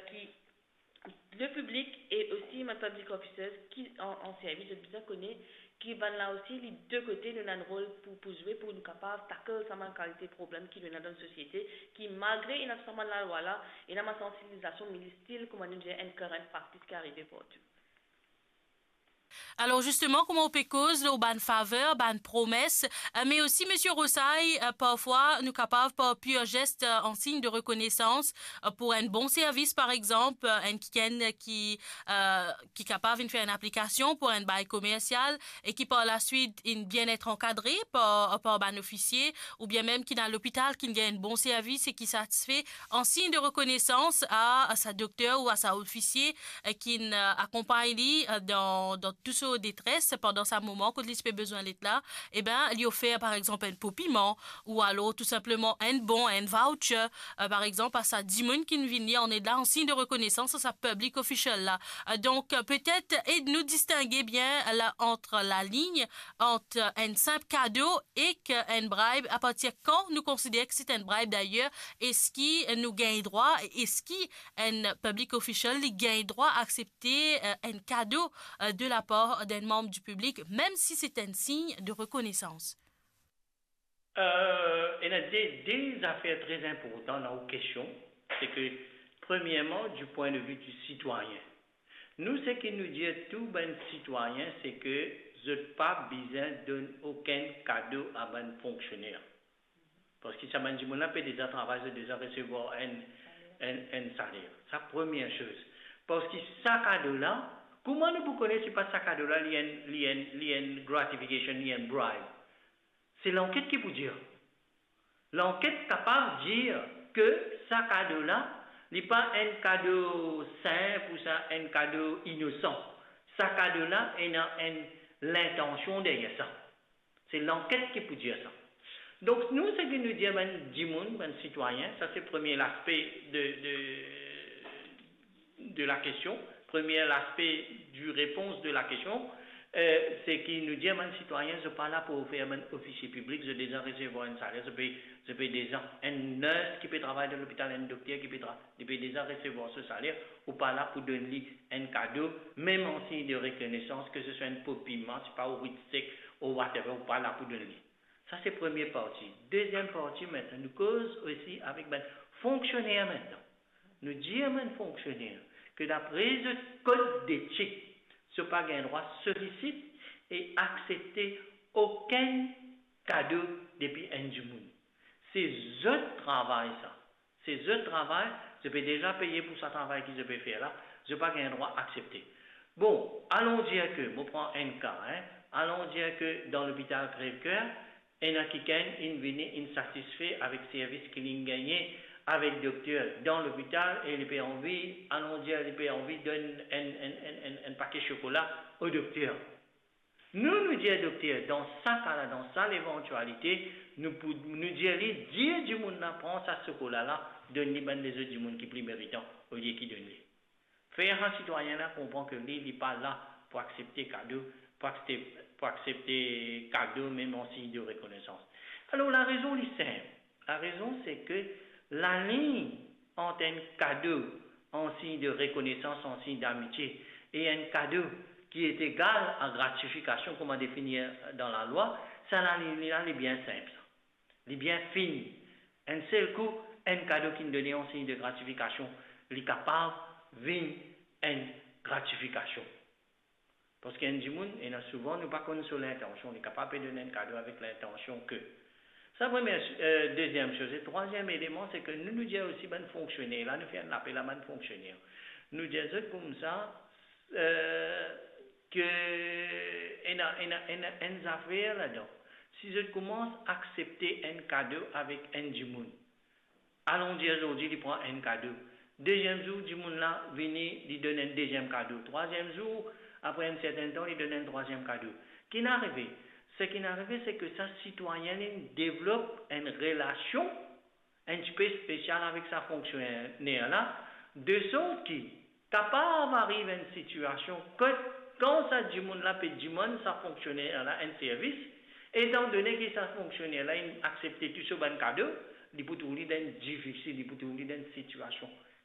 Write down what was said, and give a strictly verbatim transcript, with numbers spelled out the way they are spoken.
ki le piblik e osi bann public officers ki an, an servis, zot bizin kone ki bann la osi, li de kote, nou ena enn rol pou, pou zwe, pou nou kapav tackle sa bann kalite problem ki nou ena dan sosiete, ki malgre ena tou sa bann lalwa la, ena bann sansibilizasion, me li still, kouma nou dir, enn current practice ki arive partou. Alor, zisteman, kouma ou pe koz lor bann faver, bann promes, eh, me osi, Misie Rosay, eh, parfwa, nou kapav par pir zes, eh, an sign de rekonesans, eh, pou enn bon servis, par exanp, eh, enn kikenn ki, eh, ki kapav vinn fer enn aplikasion pou enn bay komersial e ki par laswit inn bien et ankadre par, par bann ofisie, oubien mem ki dan lopital, ki gagn enn bon servis e ki satisfe, an sign de rekonesans a, a sa dokter ou a sa ofisie, eh, ki'nn, eh, akonpagn li, eh, dan, dan tou so detres pandan sa moman kot li ti pe bizin let la, eben, li ofer, par exanp, enn po piman, ou alor tou sinpleman enn bon, enn voucher, eh, par exanp, a sa dimoun ki'nn vini an ed la, an sign de rekonesans a sa public official la. Eh, donk, eh, petet ed nou distinge bien la, ant lalign, ant enn sinp kado ek enn bribe. Apartir kan nou konsider ki se enn bribe dayer? Eski nou gagn drwa, eski enn public official, li gagn drwa aksepte, eh, enn kado, eh, de lapar d'enn manb di piblik, mem si se enn sign de rekonesans? Eh, ena de, de zafer tre inportan dan ou kestion, se ke, premierman, du point de vue du citoyen. Nou, seki nou dir tou bann sitwayin, se ke zot pa bizin donn okenn kado a bann fonksioner. Parski sa bann dimoun la pe deza travay, zot deza resevwar enn, enn, enn saler. Sa premie soz. Parski sa kado la, kouma nou pou kone si pa sa kado la, li enn, li enn, li enn gratification, li enn bribe? Se lanket ki pou dir. Lanket kapav dir ke sa kado la, li pa enn kado sinp ou sa enn kado inosan. Sa kado la ena enn lintansion deryer sa. Se lanket ki pou dir sa. Donk, nou, seki nou dir bann dimoun, bann sitwayin, sa se premie laspe de, de, de la kestion, premie laspe du repons de la kestion, eh, seki nou dir bann sitwayin, zot pa la pou ofer bann ofisie piblik, zot deza resevwar enn saler, zot pe, zot pe deza, enn nurse ki pe travay dan lopital, enn dokter ki pe tra-, li pe deza resevwar so saler, ou pa la pou donn li enn kado, mem an sign de rekonesans, ke se swa enn po piman, se pa ou rit sek, ou whatever, ou pa la pou donn li. Sa se premie parti. Deziem parti, aster nou koz osi avek bann fonksioner aster. Nou dir bann fonksioner ke dapre zot kod detik, zot pa gagn drwa solisit e aksepte okenn kado depi enn dimoun. Se zot travay sa. Se zot travay, zot pe deza peye pou sa travay ki zot pe fer la, zot pa gagn drwa aksepte. Bon, alon dir ke, mo pran enn ka, hein, alon dir ke dan lopital Crèvecoeur, ena kikenn inn vini, inn satisfe avek servis ki linn gagne avek dokter dan lopital e li pe anvi, alon dir, li pe anvi donn enn, enn, enn, enn, enn pake sokola o dokter. Nou, nou dir dokter, dan sa ka la, dan sa levantialite, nou pou, nou dir li, dir dimoun la pran sa sokola la, donn li bann lezot dimoun ki pli meritan, olie ki donn li. Fer sa sitwayin la konpran ke li, li pa la pou aksepte kado, pou aksepte, pou aksepte kado mem an sign de rekonesans. Alor, larezon li sinp. Larezon se ke lalign ant enn kado an sign de rekonesans, an sign damitie, e enn kado ki est egal a gratifikasion, kouma defini dan lalwa, sa lalign la, li bien sinp, sa. Li bien fin. Enn sel kou, enn kado ki'nn done an sign de gratifikasion, li kapav vinn enn gratifikasion. Parski enn dimoun, ena souvan, nou pa konn so lintansion, li kapav pe donn enn kado avek lintansion ke. Sa premie, eh, deziem soz. E trwaziem eleman, se ke nou, nou dir osi bann fonksioner la, nou fer enn lapel a bann fonksioner. Nou dir zot koumsa, eh, ke ena, ena, ena enn zafer ladan. Si zot koumans aksepte enn kado avek enn dimoun, alon dir zordi li pran enn kado. Deziem zour, dimoun la vini, li donn enn deziem kado. Trwaziem zour, apre enn sertenn tan, li donn enn trwaziem kado. Ki'nn arive? Seki'nn arive, se ke sa sitwayin la inn devlop enn relasion enn tipe spesial avek sa fonksioner la, de sort ki kapav ariv enn sitiasion kot, kan sa dimoun la pe dimann sa fonksioner la enn servis, etandone ki sa fonksioner la inn aksepte tou so bann kado, li pou trouv li dan enn difisil, li pou trouv li dan enn sitiasion